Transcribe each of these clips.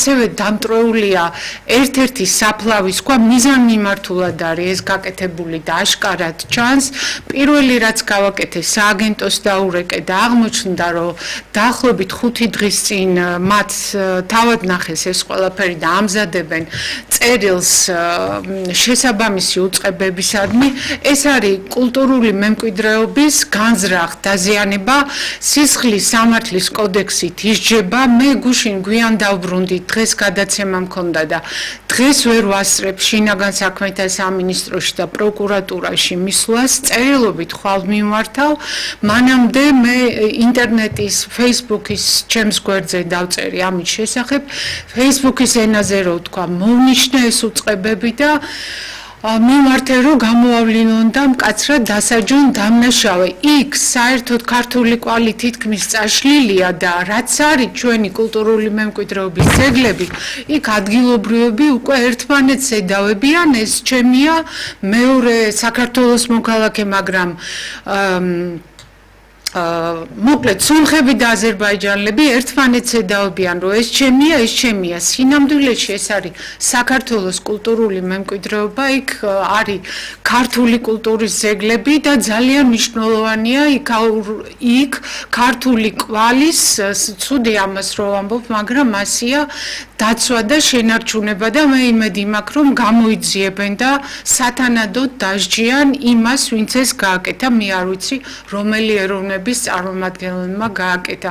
ასევე დამტრეულია ერთ-ერთი საფლავის ქვა მიზანმიმართულად არის ეს გაკეთებული და აშკარად ჩანს. პირველი რაც გავაკეთე სააგენტოს დაურეკე და აღმოჩნდა რომ დაახლოებით 5 დღის წინ მათ თავად ნახეს ეს ყველაფერი და ამზადებენ წერილს შესაბამისი უწყებებისადმი. ეს არის კულტურული მემკვიდრეობის განზრახ დაზიანება. სისხლის სამართლის კოდექსით ისჯება. მე გუშინ გვიან დავბრუნდი, დღეს გადაცემა მქონდა და დღეს ვერ ვასწრებ შინაგან საქმეთა სამინისტროში და პროკურატურაში მისვლას. წერილობით ხვალ მიმართავ. მანამდე მე ინტერნეტის, Facebook-ის ჩემს გვერდზე დავწერი ამის შესახებ. Facebook-ის ენაზე რო ვთქვა, მოვნიშნე ეს უწყებები და მიმართე რომ გამოავლინონ და მკაცრად დასაჯონ დამნაშავე. იქ საერთოდ ქართული კვალი თითქმის წაშლილია და რაც არის ჩვენი კულტურული მემკვიდრეობის ძეგლები, იქ ადგილობრივები უკვე ერთმანეთს ედავებიან. ეს ჩემია მეორე საქართველოს მოქალაქე, მაგრამ მოკლედ სომხები და აზერბაიჯანელები ერთმანეთს ედავებიან რომ ეს ჩემია. სინამდვილეში ეს არის საქართველოს კულტურული მემკვიდრეობა, იქ არის ქართული კულტურის ძეგლები და ძალიან მნიშვნელოვანია იქ ქართული კვალის, ცუდი ამას რო ვამბობ, მაგრამ ასია დაცვა და შენარჩუნება და მე იმედი მაქვს რომ გამოიძიებენ და სათანადოდ დასჯიან იმას, ვინც ეს გააკეთა. მე არ ვიცი რომელი ეროვნების წარმომადგენელმა გააკეთა.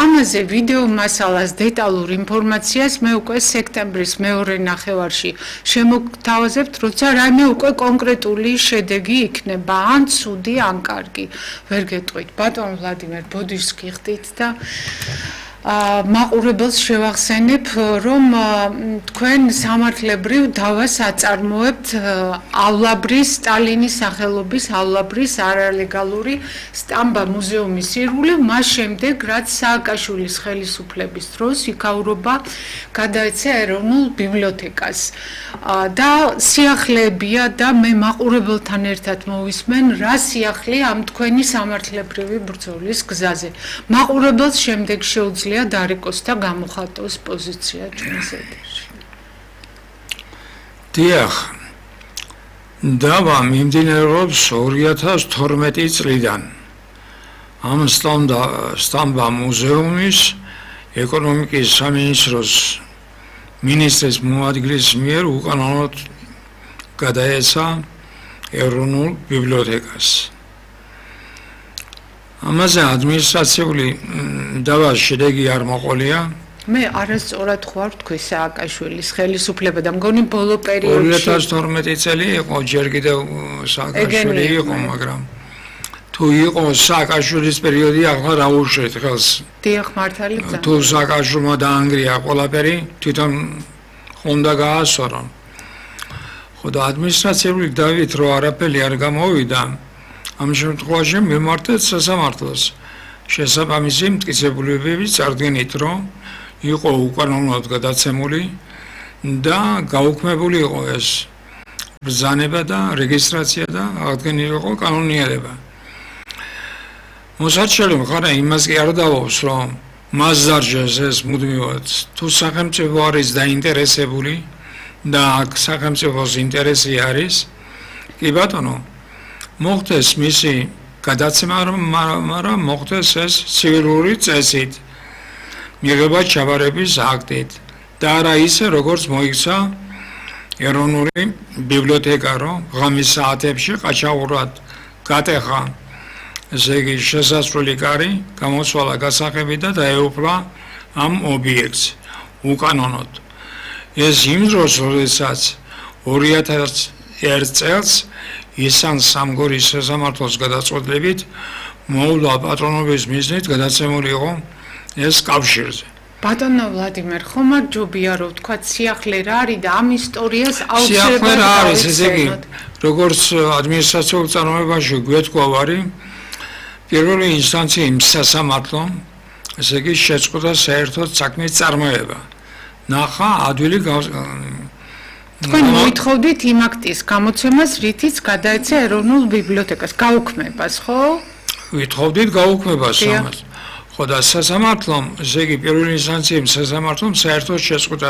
ამაზე ვიდეო მასალას, დეტალურ ინფორმაციას მე უკვე სექტემბრის მეორე ნახევარში შემოგთავაზებთ, როცა რაიმე უკვე კონკრეტული შედეგი იქნება, ან ცუდი, ან კარგი. ვერ გეტყვით. ბატონ ვლადიმერ, ბოდიშს გიხდით და მაყურებელს შევახსენებ, რომ თქვენ სამართლებრივ დავას აწარმოებთავლაბრის, სტალინის სახელობისავლაბრის არალეგალური სტამბა მუზეუმის ირგვლივ, მას შემდეგ, რაც სააკაშვილის ხელისუფლების დროს იქაურობა გადაეცა ეროვნულ ბიბლიოთეკას. და სიახლეებია და მე მაყურებელთან ერთად მოვისმენ, რა სიახლეა ამ თქვენი სამართლებრივი ბრძოლის გზაზე. მაყურებელს შემდეგ შეუძლია დარეკოს და გამოხატოს პოზიცია ჩვენს ეთერში. დიახ, დავა მიმდინარეობს 2012 წლიდან. ამ სტამბა მუზეუმის ეკონომიკის სამინისტროს მინისტრის მოადგილის მიერ უკანონოდ გადაეცა ეროვნულ ბიბლიოთეკას. ამაზე ადმინისტრაციული დავას შედეგი არ მოყოლია. მე არასწორად ხوار თქვი სააკაშვილის ხელისუფლება და მგონი ბოლო პერიოდში 2012 წელი იყო, ჯერ კიდევ სააკაშვილი იყო, მაგრამ თუ იყო სააკაშვილის პერიოდი, ახლა რა უშევთ ხელს. დიახ, მართალია. თუ სააკაშვილმა დაანგრია ყველაფერი, თვითონ უნდა გაასწორონ. ხო და ადმინისტრაციული დავით რო არაფერი არ გამოვიდა, ამ შემთხვევაში მიმართეთ სასამართლოს. შესაბამისი მტკიცებულებები წარდგენით, რომ იყო უკანონოდ გადაცემული და გაუქმებული იყო ეს ბრძანება და რეგისტრაცია და აღდგენილი იყო კანონიერება. მოსარჩელი მხარე იმას კი არ დავობს, რომ მას დარჩეს ეს მუდმივად, თუ სახელმწიფო არის დაინტერესებული და აქ სახელმწიფოს ინტერესი არის, კი ბატონო, მოხდეს მისი გადაცემა, მაგრამ მოხდეს ეს ცივილური წესით, მიღება ჩაბარების აქტით და არა ისე, როგორც მოიქცა ეროვნული ბიბლიოთეკა, რომ ღამის საათებში ყაჩაღურად გატეხა, ესე იგი შესასვლელი კარი, გამოსვალა გასაღები და დაეუფლა ამ ობიექტს უკანონოდ. ეს იმ დროს, როდესაც 2001 წელს ისან სამგორის სასამართლოს გადაწყვეტილებით მოვლა პატრონობის მიზნით გადაცემული იყო ეს კავშირზე. ბატონო ვლადიმერ, ხომ არ ჯობია რომ თქვა სიახლე რა არის და ამ ისტორიას აუცილებლად სიახლე რა არის, ესე იგი, როგორც ადმინისტრაციულ წარმოებაში გვეთქვა ვარი, პირველი ინსტანციის სასამართლო, ესე იგი, შეწყვეტა საერთოდ საქმის წარმოება. ნახა ადვილი თქვენ მოითხოვდით იმ აქტის გამოცემას, რითიც გადაეცა ეროვნულ ბიბლიოთეკას გაუქმებას, ხო? ვითხოვდით გაუქმებას ამას. ხო და სასამართლომ, ესე იგი, პირველი ინსტანციის სასამართლომ საერთოდ შეწყვეტა